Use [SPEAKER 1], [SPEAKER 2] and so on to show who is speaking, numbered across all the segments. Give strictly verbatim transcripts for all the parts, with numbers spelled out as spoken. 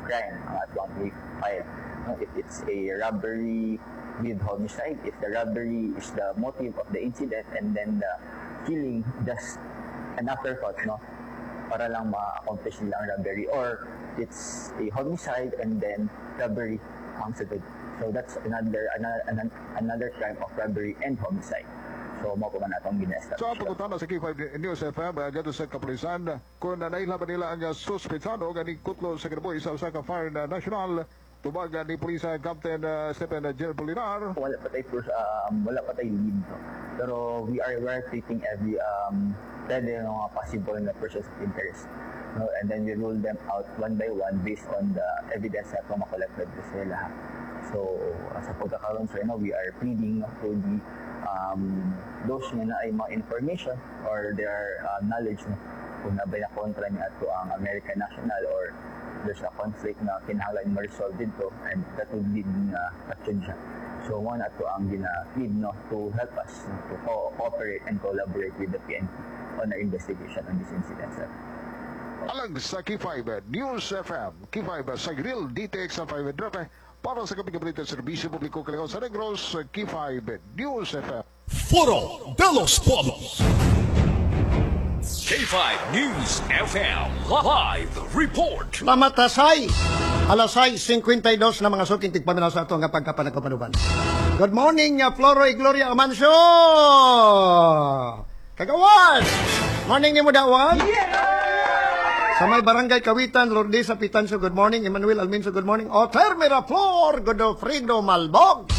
[SPEAKER 1] crime ang atong i-file. No, if it's a robbery with homicide, if the robbery is the motive of the incident and then the killing just an afterthought, no? Para lang ma-accomplish nila ang robbery or it's a homicide and then robbery ang sunod. So that's another another another crime of robbery and homicide. So mao pa man atong gina-establish.
[SPEAKER 2] Sa pangutana sa K five News F M uh, ngadto sa kapulisan kung nailhan ba nila ang suspetsado nga nikutlo sa kinabuhi sa usa ka foreign national, tubag ni Police Captain uh, Stephen Jill Polinar.
[SPEAKER 1] Wala pa tayo um, wala pa tayo lead, no? Pero we are we are treating every um pwede mga possible na persons of interest, no? And then we rule them out one by one based on the evidence na itong makollected sa sila. So uh, sa pagkakaroon, sir, no, we are pleading, no, to the um, those nga naay mga information or their uh, knowledge, no, kung naa bay na kontra niya ato ang American national or there's a conflict na kinahanglan ma-resolve dito and that would lead na action siya. So one ato ang gina-plead, no, to help us, no, to co- cooperate and collaborate with the P N P on our investigation on this incident, sir.
[SPEAKER 2] Alang sa K five News F M, K five sa Grill D T X five para sa Kaping Balita Serbisyo Publiko Kalingaw sa Negros, K five News F M.
[SPEAKER 3] Foro de los Pueblos. K five News F M Live Report.
[SPEAKER 4] Salamat, Tasay. Alas sais singkwenta y dos na, mga suking tigpaminaw sa ato nga pagkapanagkapanuban. Good morning, uh, Floroy Gloria Amancio! Kagawan! Morning ni mo dawan? Sa may barangay Kawitan, Lourdes Pitanso, good morning. Emmanuel Alminso, good morning. Oter Miraflor, Godofredo Malbog.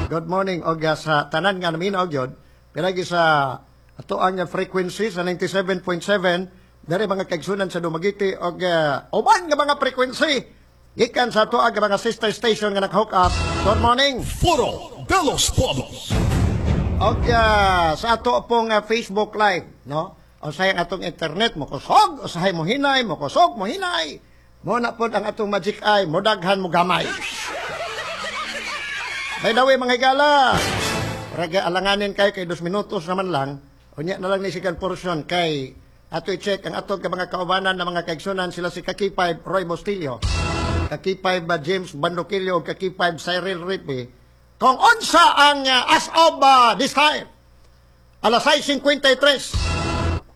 [SPEAKER 4] Good morning. Og uh, sa tanan nga naminaw gyud, pinagi sa ato ang frequency sa ninety-seven point seven dere, mga kaigsunan sa Dumaguete og uh, uban nga mga frequency gikan sa ato ang mga sister station nga nag-hook up. Good morning.
[SPEAKER 3] Foro de los Pueblos.
[SPEAKER 4] Og uh, sa ato pong uh, Facebook Live, no? Usahay ang atong internet mo kusog, usahay mo hinay, mo kusog, mo hinay. Mo na pod ang atong magic eye, mo daghan mo gamay. By the way, mga higala, raga alanganin kay kay dos minutos naman lang. Unya na lang ni second portion kay ato i-check ang atong mga kaubanan na mga kaigsunan, sila si Kaki five Roy Mostillo, Kaki five uh, James Bandoquillo ug Kaki five Cyril Ripi. Kung unsa ang uh, as of uh, this time, alas sais singkwenta y tres,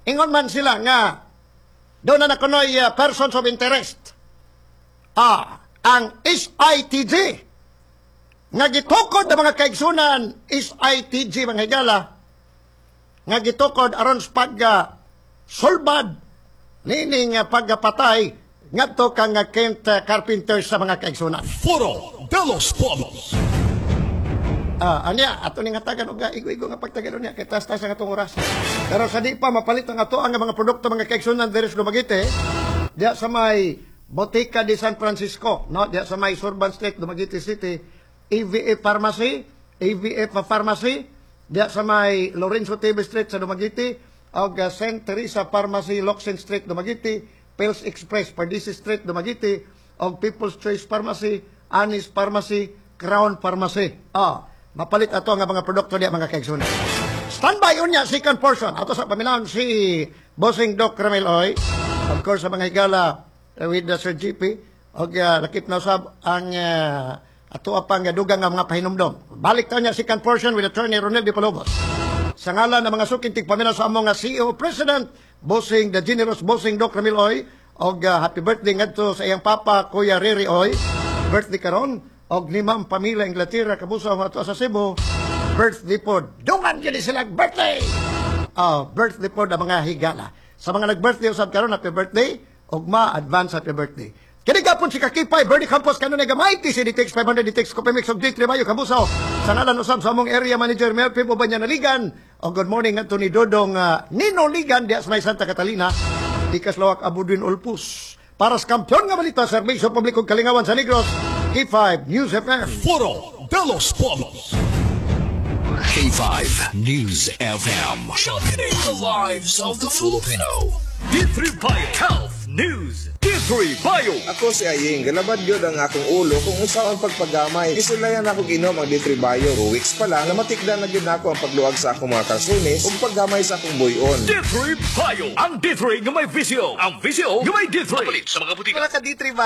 [SPEAKER 4] ingon man sila nga doon na nakunoy uh, persons of interest. Ah, ang S I T G nga gitukod ng mga kaigsunan, S I T G, mga higala, nga gitukod aron sa pagga sulbad nining uh, pagpatay ngadto kang uh, Kent uh, Carpenter sa mga kaigsunan.
[SPEAKER 3] Foro de los Pueblos.
[SPEAKER 4] Ah, anya ato ning hatagan og igo-igo nga pagtagalon niya kay tas-tas ang atong oras. Pero sa di pa mapalit ang ato ang mga produkto, mga kaigsunan, diri sa Dumaguete, diya sa may Botica de San Francisco, no? Diya sa may Surban Street, Dumaguete City, A V F Pharmacy, A V F Pharmacy, diya sa may Lorenzo T V Street sa Dumaguete, og uh, Saint Teresa Pharmacy, Locsin Street, Dumaguete, Pills Express, Pardisi Street, Dumaguete, og People's Choice Pharmacy, Anis Pharmacy, Crown Pharmacy. Ah, mapalit ato nga mga produkto diya, mga kaigsunan. Standby unya second portion. Ato sa paminawon si Bossing Doc Ramil Oy. Of course, sa mga higala uh, with the Sir G P og uh, lakip na usab ang uh, ato pang dugang nga mga pahinumdom. Balik ta niya second portion with Attorney Ronel Di Palobos. Sa ngalan ng mga suking tigpaminaw sa among nga C E O President Bossing the Generous Bossing Doc Ramil Oy og uh, happy birthday ngadto sa iyang papa, Kuya Riri Oy. Birthday karon og ni Ma'am Pamela Inglaterra kabusaw ato sa Cebu. Birthday pod. Dungan gyud sila birthday. Ah, birthday pod ang mga higala. Sa mga nag-birthday usab karon, happy birthday ug ma advance happy birthday. Kini gapon si Kakipay, Bernie Campos, kanunay gamay, T C D T X five hundred D T X, Copemix, ug D three Mayo, Kabusaw. Sa ngalan usab sa among area manager, Melvin Ubanya Naligan, o good morning ngadto ni Dodong uh, Nino Ligan, diya sa may Santa Catalina, Tikas Lawak Abudwin Ulpus. Para sa kampiyon nga balita, serbisyo publiko kalingawan sa Negros, K five News F M.
[SPEAKER 3] Foro de los Pueblos. K five News F M. Championing the lives of the Filipino. D three Bio Health News. D three Bio.
[SPEAKER 5] Ako si Aying, galabad gyud ang akong ulo kung unsaon pagpagamay. Gisulayan ako ginom ang D three Bio. Two weeks pa lang, namatikdan na gyud nako ang pagluag sa akong mga kalsunis ug paggamay sa akong buyon.
[SPEAKER 3] D three Bio. Ang D three nga may V C O. Ang V C O nga may D three. Palit sa mga butika.
[SPEAKER 6] Wala ka D three Bio.